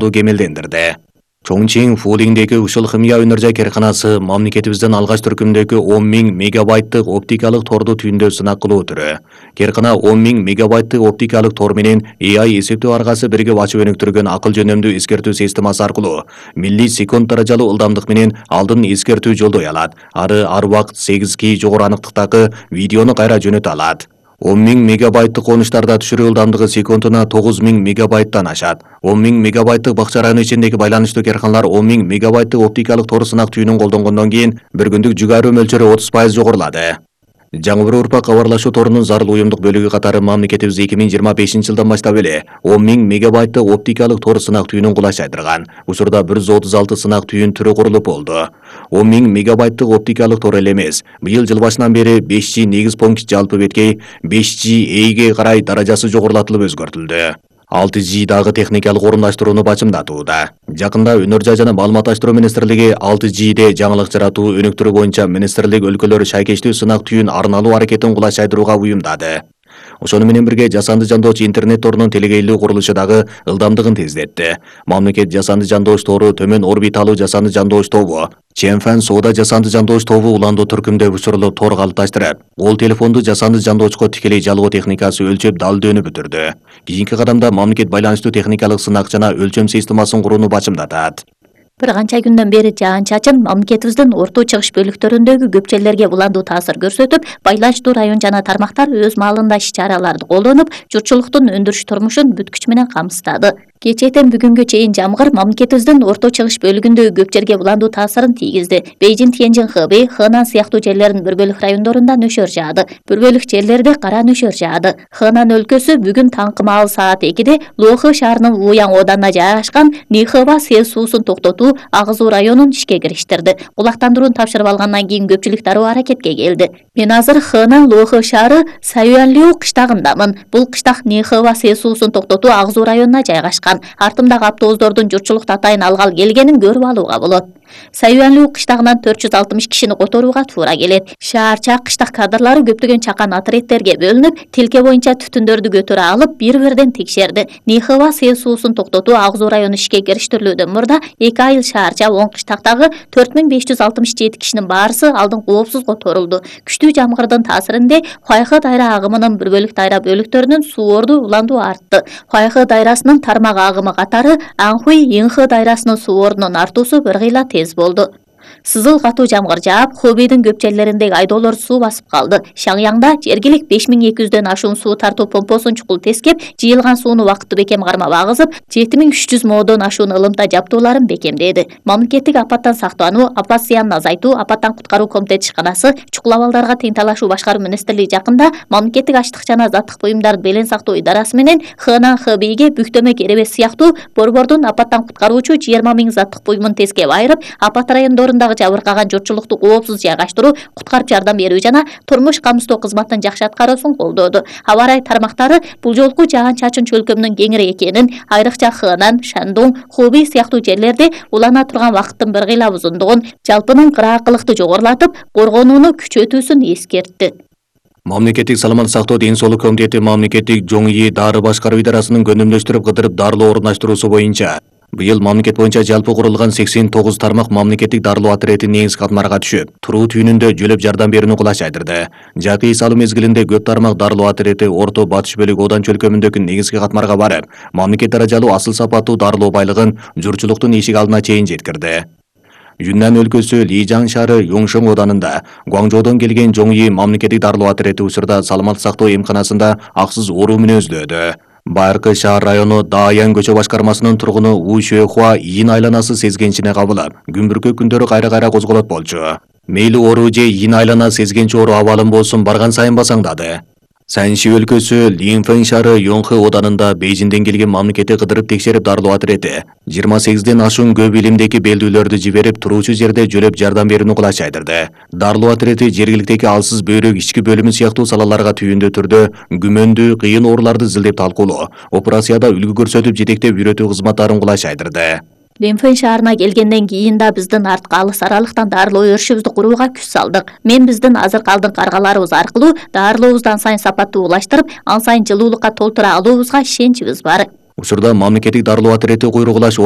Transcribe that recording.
кемелдендирди. Чоңчиң Фулиңдеги Ушул химия өнөр-жай карканасы мамлекетибиздин алгач түркүмдөгү 10 000 мегабайттык оптикалык торду түйүндө сынак кылуу түрү. Каркана 10 000 мегабайттык оптикалык тор менен AI эсептөө аргасы биригип ачып өнүктүргөн акыл жөнөмдүү эскертүү системасы аркылуу милли-секунд даражалуу ылдамдык менен алдын эскертүү жолдой алат. Ар убакыт 8К жогору аныктыктагы видеону кайра жөнөтө алат. 10 000 мегабайттык конуштарда түшүрүү ылдамдыгы секундуна 9 000 мегабайттан ашат. 10 000 мегабайттык бакча району ичиндеги байланыштуу карканалар 10 000 мегабайттык оптикалык тор сынак түйүнүн колдонгондон кийин bir күндүк жүк айыруу мөлчөрү 30% жогорулады. Жаңы бір урпак кабарлашуу торунун зарыл уюмдук бөлүгү катары мамлекетибиз 2025 жылдан баштап эле 10 000 мегабайттык оптикалык тор сынак түйүнүн кулаш айдырган. Учурда 136 сынак түйүн түрү курулуп болду. 10 000 мегабайттык оптикалык тор эле эмес, быйыл жыл башынан бери 5G негиз пункт жалпы беткей 5G Эйге карай даражасы жогорулатылып өзгөртүлдү. 6G дагы техникалык орундаштырууну бачымдатууда. Жакында Өнөр-жай жана маалыматташтыруу министрлиги 6G'де жаңылык жаратуу өнүктүрүү боюнча министрлик өлкөлөр шайкештүү сынак түйүн арналуу аракетин кулаш айдырууга уюмдады. Ошону менен бирге жасанды жандоочу интернет торунун телегейлүү курулушу дагы ылдамдыгын тездетти. Мамлекет жасанды жандооч тору төмөн орбиталуу жасанды жандооч тобу, Ченфэн соода жасанды жандооч тобу уландуу түркүмдө учурлуу тор калыпташтырып, ол телефонду жасанды жандоочко тикелей жалгоо техникасы өлчөп далдөөөнү бүтүрдү. Кийинки кадамда мамлекет байланыштуу техникалык сынак жана өлчөм системасын курууну бачымдатат. Bir канча күндөн бери жаан-чачын мамлекетибиздин орто чыгыш бөлүктөрүндөгү көпчөлөргө уландуу таасир көрсөтүп, байланыштуу район жана тармактар өз маалында иш-чараларды колдонуп, журтчулуктун өндүрүш турмушун бүткүч менен камсыздады. Кечээден бүгүнгө чейин жамгыр мамлекетибиздин орто чыгыш бөлүгүндөгү көп жерге уландуу таасырын тийгизди. Бейжин, Тяньжин, Хэбэй, Хэнан сыяктуу жерлердин bir бөлүк райондорунда нөшөр жаады. Bir бөлүк жерлерде кара нөшөр жаады. Хэнан өлкөсү бүгүн таңкы маал саат 2-де Лохы шаарынын Луяң оданына жайгашкан Нихэва сел суусун токтотуу агызуу районун ишке кириштирди. Булактандырууну тапшырып алгандан кийин көпчүлүк дароо аракетке келди. Мен азыр Хэнан Лохы шаары Саюанлю кыштагындамын. Бул кыштак Нихэва сел суусун токтотуу агызуу районуна жайгашкан. Артымдагы автобустардын журтчулук атайын алгал келгенин көрүп алууга болот. Саюанлю кыштагынан 460 кишини которууга туура келет. Шаарча кыштак кадрлары көптөгөн чакан отрядтерге бөлүнүп, тилке боюнча түтүндөрдү көтөрө алып, бир-бирден текшерди. Нихэва сел суусун токтотуу агызуу району ишке кириштирилүүдөн мурда 2 айыл шаарча 10 кыштактагы 4567 кишинин баарысы алдын коопсуз которулду. Күчтүү жамгырдын таасиринде Хуайхэ дайра агымынын bir бөлүк дайра бөлүктөрүнүн суу орду уландуу артты. Хуайхэ дайрасынын тармак агымы катары Анхуй, Инхэ дайрасынын суу ордунун артуусу bir кыйла тез болду. Сызыл катуу жамгыр жаап, Хобейдин көп жерлериндеги айдоолор суу басып калды. Шаңяңда жергилик 5200дөн ашуун суу тартуу помпосун чукул тескеп, жыйылган сууну убакыттуу бекем кармап агызып, 7300 модон ашуун ылымта жабдууларын бекемдеди. Мамлекеттик апаттан сактануу, апат зыянын азайтуу, апаттан куткаруу комитети ишканасы, чукул абалдарга тең талашуу башкаруу министрлиги жакында мамлекеттик ачлык жана заттык буюмдарды белең сактоо идарасы менен Хэнан Хэбэйге бүктөмө керебес сыяктуу борбордун апаттан куткаруучу 20 000 заттык буюмун тескеп айырып, апат райондорунда жабыркаган журтчулукту коопсуз жайгаштыруу, куткарып жардам берүү жана турмуш камсыздоо кызматынын жакшы аткаруусун колдоду. Аба ырайы тармактары бул жолку жаан-чачын чөлкөмүнүн кеңири экенин, айрыкча Хэнан, Шандун, Хубей сыяктуу жерлерде улана турган вакыттын bir кыйла узундугун, жалпынын кыраакылыкты жогорулатып, коргонууну күчөтүүсүн эскертти. Мамлекеттик саламаттык сактоо ден соолук комитети мамлекеттик жоңйи дары башкаруу идарасынын көнүмдөштүрүп кыдырып дарылоо орундаштыруусу боюнча быйыл мамлекет боюнча жалпы курулган 89 тармак мамлекеттик дарылоо отрядын негизги катмарга түшүп, туруу түйүнүндө жөлөп жардам берүүнү кулаш айдырды. Жакый салуу мезгилинде көп тармак дарылоо отряды орто батыш бөлүк одан чөлкөмүндөгү негизги катмарга барып, мамлекет даражалуу асыл сапаттуу дарылоо байлыгын журтчулуктун эшик алдына чейин жеткирди. Юннан өлкөсү Лижаң шаары Юңшоң оданында Гуаңжоодон келген жоңйи мамлекеттик дарылоо отряды учурда саламаттык сактоо эмканасында аксыз ооруу менен өзлөөдө. Байыркы шаар району Дааян көчө башкармасынын тургуну У Шөөхуа ийин айланасы сезгенчине кабылып, күнбүркө күндөрү кайра козголот болчу. Мейли оору же ийин айлана сезгенчи оору абалым болсун барган сайын басаңдады. Санши өлкөсү Линфэн шаары Йонхэ оданында Бейжинден келген мамлекеттик кыдырып текшерип дарылоо отряды 28ден ашуун көп илимдеги белдүүлөрдү жиберип, туруучу жерде жөлөп жардам берүүнү кулаш айдырды. Дарылоо отряды жергиликтеги алсыз бөйрөк ички бөлүмү сыяктуу салаларга түйүндүү түрдө күмөндүү, кыйын ооруларды изилдеп талкуулоо, операцияда үлгү көрсөтүп жетектеп үйрөтүү кызматтарын кулаш айдырды. Линфэн шаарына келгенден кийин да биздин артка алыс аралыктан дарылоо өрүшүбүздү курууга күч салдык. Мен биздин азыркы алдыңкы аргаларыбыз аркылуу дарылообузду ан сайын сапаттуу улаштырып, ан сайын жылуулукка толтура алуубузга ишеничибиз бар. Учурда мамлекеттик дарылоо отряды куйругулаш